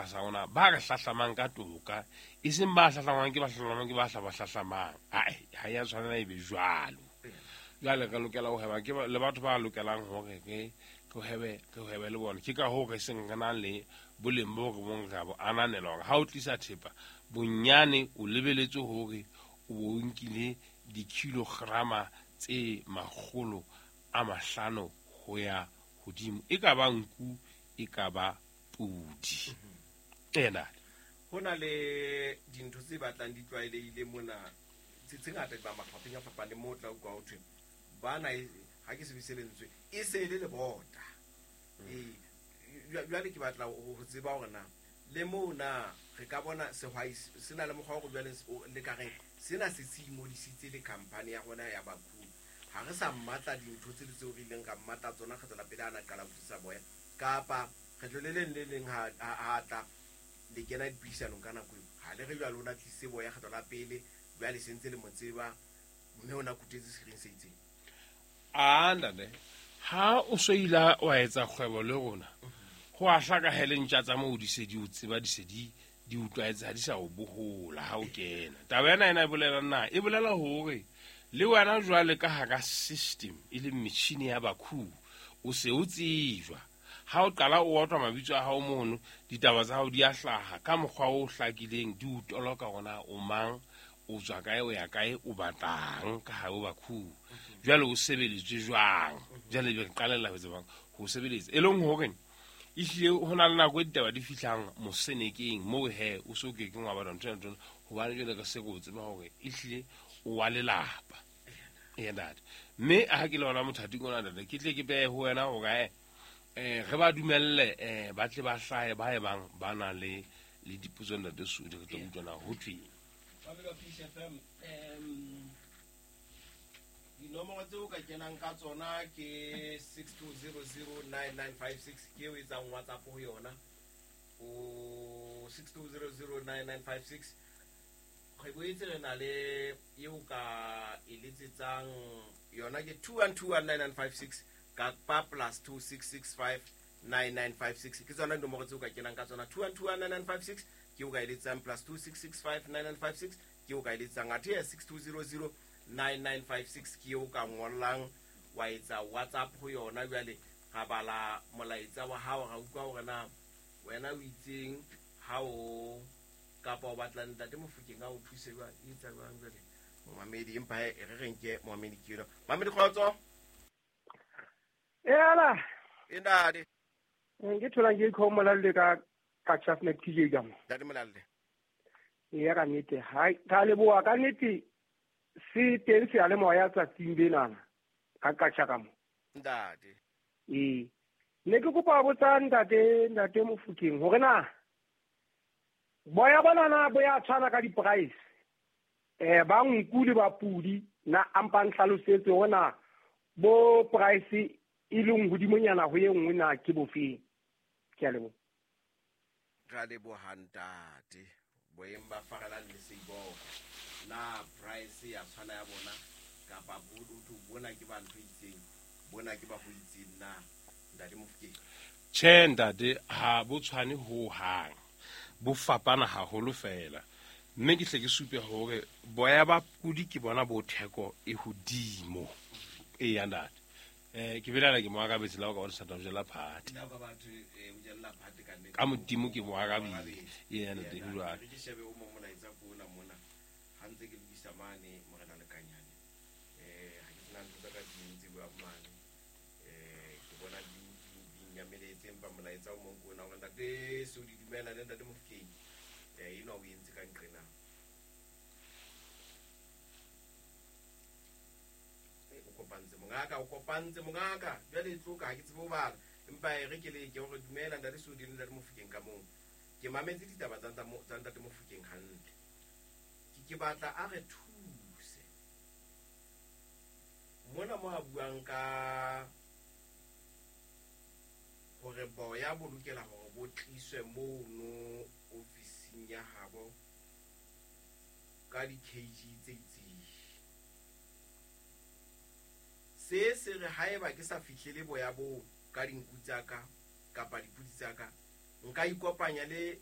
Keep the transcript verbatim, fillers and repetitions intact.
tlasa rona ba re hlahlamang ka toka, e seng ba hlahlamang ke ba hlahlamang ke ba hla ba hlahlamang. Ae, ha ya tshwanela e be jwalo. Jwale re lokela ho hweba ke le batho ba lokelang hore re re hwebe re hwebe le bona. Ke ka hoo re seng re nang le boleng bo re bong re bo ananela hore ha o tlisa thepa bonyane o lebeletse hore o bo nkile dikilograma tse makgolo a mahlano ho ya hodimo, e ka ba nku e ka ba pudi. Ena ho na le dintho tse batlang di tlwaelehile mona tse tse ngata ba mafapheng a fapaneng moo o tla utlwa ho thwe bana e ha ke sebedise lentswe e se e le lebota. Ee, jwale ke batla ho tseba hore na le moo na re ka bona sehwai se na le mokgwa wa hore jwale le ka reng sena se se ingodisitse le company ya rona ya Bakhu. Ha re sa mmatla dintho tse le tseo re ileng ra mmatla tsona kgetlo la pele ha na qala ho tlisa boya, kapa kgetlo le leng le leng ha ha tla le kena dipuisanong ka nako eo ha le re jwale o na tlise boya kgetlo la pele jwale se ntse le mo tseba mme o na kutetse sekiring se itseng. A ntate, ha o so ila wa etsa kgwebo le rona, ho a hlaka hele ntja tsa moo di se di o tseba, di se di di utlwaetse, ha di sa o bohola ha o kena. Taba ena ena e bolela na? E bolela hore le wena jwale ka hara system e leng metjhini ya Bakhu, o se o tsejwa. Ha o qala o otlwa mabitso a hao mono, ditaba tsa hao di a hlaha ka mokgwa o hlakileng, di o toloka hore na o mang, o tswa kae, o ya kae, o batlang ka hare ho Bakhu. Jwale o sebeletswe jwang? Jwale be re qalella ho tsebang ho sebeletsa. E leng hore ehlile ho na le nako e ditaba di fihlang mosenekeng moo he o so kekeng wa batla ntho ena ntho, hobane jwale re se re o tseba hore ehlile o wa lelapa. Ee ntate. Mme ha ke le hona mothating ona ntate, ke tle ke behe ho wena hore eh re ba dumelle eh ba tle ba hlahe ba e bang ba na le le dipotso ntate Sudi, re tlo utlwa na ho thweng. Babelo Peace F M, em dinomoro tseo ka kenang ka tsona ke six two zero zero nine nine five six, ke eo etsang WhatsApp ho yona. O six two zero zero nine nine five six. Re boetse re na le eo ka e letsetsang yona ke two one two one nine nine five six kapa plus two six six five nine nine five six. Ke tsona dinomoro tseo ka kenang ka tsona, two one two one nine nine five six ke eo ka e letsetsang, plus two six six five nine nine five six ke eo ka e letsetsang, athe ya six two zero zero nine nine five six ke eo ka ngollang wa etsa WhatsApp ho yona. Jwale ra bala molaetsa wa hao, ra utlwa hore na wena o itseng ha o kapa o batla ntate Mofokeng a o thuse jwang, e etsa jwang jwale momamedi. Empa he re re nke momamedi ke yona. Mamedi kgotso. Ela. E ntate. Ke thola ke ikhomo le ka ka Chafnet T J ka mo. Ntate Molalle. Eya ka nnete, ha ka leboha ka nnete se teng se a le moya tsatsing lenana ka katjha ka mo. Ntate. Ee. Ne ke kopa ho botsa ntate, ntate Mofokeng hore na boya bona na bo ya tshwana ka di-price. Eh ba nku le ba pudi na ampa nhlalosetse hore na bo price e leng hodimonyana ho e nngwe na ke bofeng. Ke a leboha. Ra leboha ntate. Boeng ba farelang le seiboko. Na price ya tshwana ya bona kapa bo bona ke ba ntho itseng, bona ke ba ho itseng na ntate Mofokeng? Tjhe ntate, ha bo tshwane ho hang. Bo fapana haholo fela. Mme ke hle ke supe hore boya ba pudi ke bona bo theko e hodimo. Eya ntate. Eh ke belaela ke mo arabetse la o ka bona sa jela phate. Nna ka batho eh o jella phate ka nnete. Ka modimo ke mo arabile. Eya ntate, jwale. Ke shebe o mo molaetsa ko ona mona. Ha ntse ke lokisa mane morena Lekanyane. Eh ha ke sena ntho tsa ka di ntse bua mane. Eh ke bona di di nyameletse empa molaetsa o mong ko ona hore ntate se o di dumela le ntate Mofokeng. Eh eno o entse ka nqena. O kopantse mongaka, o kopantse mongaka. Jwale e tloka ha ke tsebe ho bala. Empa e re ke le ke hore dumela ntate Sodi le ntate Mofokeng ka moo. Ke mametse ditaba tsa tsa ntate Mofokeng hantle. Ke ke batla a re thuse. Mona mo a buang ka hore boya bo lokela hore bo tliswe mono ofising ya habo ka di-K G tse itseng. Se se re haeba ke sa fihlele boya bo ka dinku tsa ka kapa dipudi tsa ka, nka ikopanya le